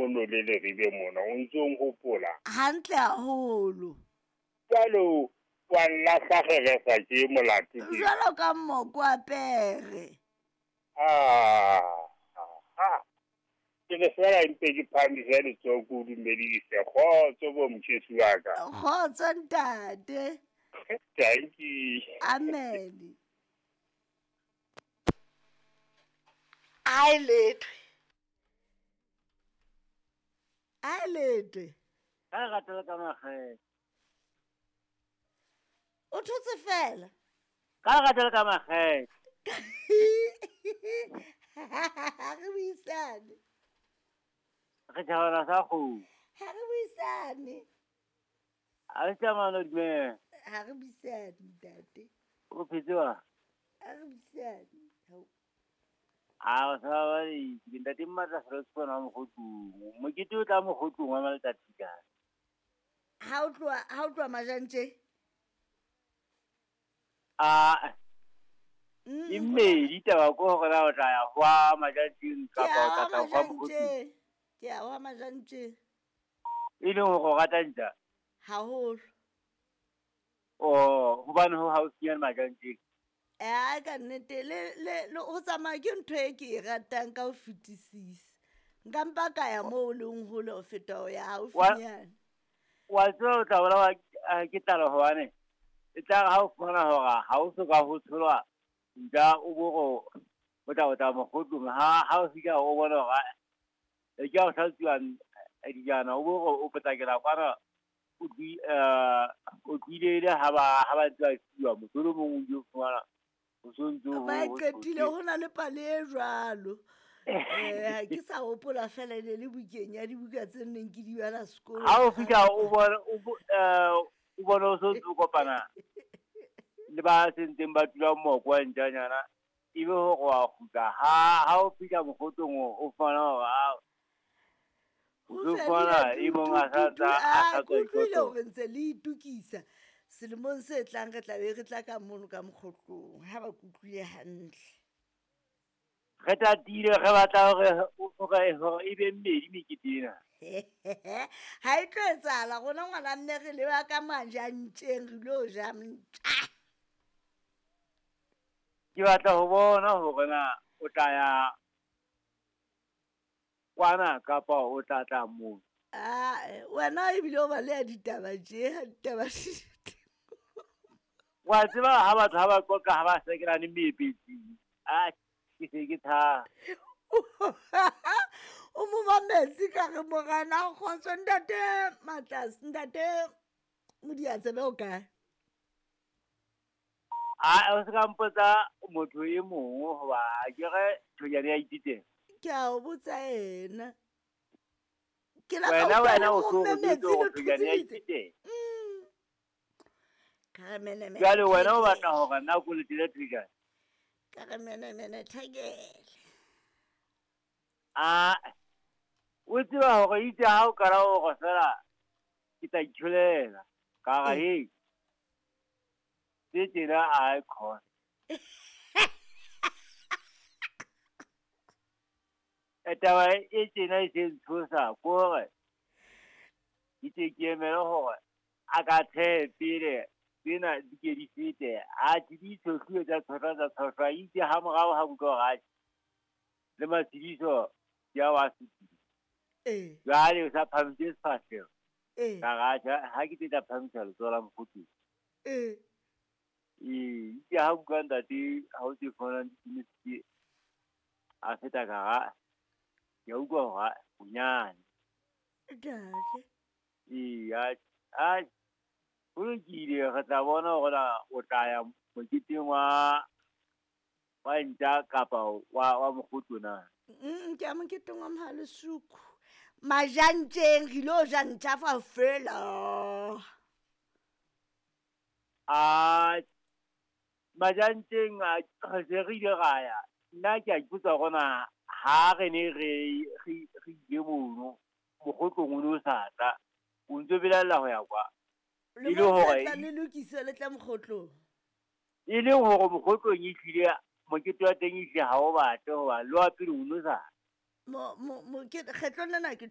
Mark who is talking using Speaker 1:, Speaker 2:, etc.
Speaker 1: mono le Leribe mona, o ntso nkgopola?
Speaker 2: Hantle haholo.
Speaker 1: Jwale wa nlahla kgeresa ke molato ke.
Speaker 2: Jwalo ka mmoko wa pere.
Speaker 1: Ah, ah. Ke le fela mpe ke phahamise letsoho ke o dumedise. Kgotso bo motjhesi wa ka.
Speaker 2: Kgotso ntate.
Speaker 1: Thank you.
Speaker 2: Amen. Ai letwe. Ai letwe.
Speaker 3: Ka ratela ka makgethe.
Speaker 2: O thotse fela.
Speaker 3: Ka ratela ka makgethe.
Speaker 2: Ha re buisane.
Speaker 3: Re tjhabana sa kgomo.
Speaker 2: Ha re buisane.
Speaker 3: A re tsamana dumela.
Speaker 2: Ha re buisane ntate.
Speaker 3: O phetse wa?
Speaker 2: Ha re buisane. Hao.
Speaker 3: A o sa ba ke ntate Mmatla fela se bona mogotlong. Mokete o tla mogotlong wa matsatsi ka.
Speaker 2: Ha o tloha majantje?
Speaker 3: A e mmedi taba ko hore na o tla ya hwa majantjeng kapa o tla tla hwa mogotlong.
Speaker 2: Ke a wa majantjeng.
Speaker 3: E leng hore o rata ntja?
Speaker 2: Haholo.
Speaker 3: Oh, hobane ho haufinyane majantjeng.
Speaker 2: Eh, ka nnete le ho tsamaya ke ntho e ke e ratang ka ho fetisisa. Nka mpa ka ya moo o leng hole ho feta ho ya haufinyane.
Speaker 3: Wa tseba o tla bolawa ke tlala hobane e tla re ha o fumana hore ha o soka ho tsholwa ntja o bo re o tla mogotlong ha o fihla o bona hore e ke o hlatsuwa dijana o bo re o potlakela kwana o tlile le ha ba ntse ba fiwa motho o mong o ile fumana o sontso
Speaker 2: ba qetile ho na le pale e jwalo. Ke sa hopola fela e le bukeng ya dibuka tse neng ke di bala sekolo.
Speaker 3: Ha o fihla o bona o bona o sontso kopana le ba sentseng ba tula moko wa ntjanyana ebe hore wa kgutla ha o fihla mogotlong o fumana hore o fumana e mong a sa tla
Speaker 2: utlwile hore ntse le itukisa selemong se tlang re tla be re tla ka mono ka mogotlong ha ba kutlwile hantle.
Speaker 3: Re tatile re batla hore e be mmedi mekete ena.
Speaker 2: Ha e tlo etsahala rona ngwana mme re leba ka majantjeng re lo ja ntja.
Speaker 3: Ke batla ho bona hore na o tla ya kwana kapa o tla tla moo.
Speaker 2: Ah, wena ebile o ba le ya ditaba tje, ha ditaba.
Speaker 3: Wa tseba ha batho ha ba qoqa ha ba sekelane meepetsing. Ah, ke se ke tha.
Speaker 2: O mo mametse ka re morena kgotso ntate Matlas, ntate Modiatsebe o kae?
Speaker 3: A o se ka mpotsa motho e mong hoba ke re thonyane ya ititela.
Speaker 2: Ke a o botsa ena. Ke la
Speaker 3: wena o so o thonyane ya ititela.
Speaker 2: Ka re mene mene.
Speaker 3: Jwale wena o batla hore nna ko letele thonyane.
Speaker 2: Ka re mene mene thekele.
Speaker 3: A o tseba hore itse ha o kala o re fela ke tla itholela. Ka re he. Tse tjena a khona. Taba e tjena e se ntshosa ko hore ke tle ke emele hore a ka thehe pele tsena di ke di fete. A di tshohluwe tsa tshohlwa itse ha morao ha utlwa hore le matshidiso ya wa fetile. Jwale o sa phamise sefahleho. Ka ra ha ke tla phamisa letsoho la mokgotsi. Ee, ha utlwa ntate ha o tse fona di a feta ka ra ke utlwa hore bonyane.
Speaker 2: Ntate.
Speaker 3: Ee, a ho lokile re tla bona hore o tla ya moketeng wa ntja kapa wa mokgotlo na.
Speaker 2: Ke ya moketeng wa Mohalesuku. Majantjeng re lo ja ntja fa fela.
Speaker 3: A majantjeng re se re ile ra ya. Nna ke a ipotsa hore na ha re ne re ile mono mogotlong o ne o sa tla o ntso belaella ho ya kwa.
Speaker 2: E le hore le lokise le tla mogotlong.
Speaker 3: E le hore mogotlong e tlile mokete wa teng e hle ha o batle hoba le wa pele o no sa.
Speaker 2: Mo kgetlong lena ke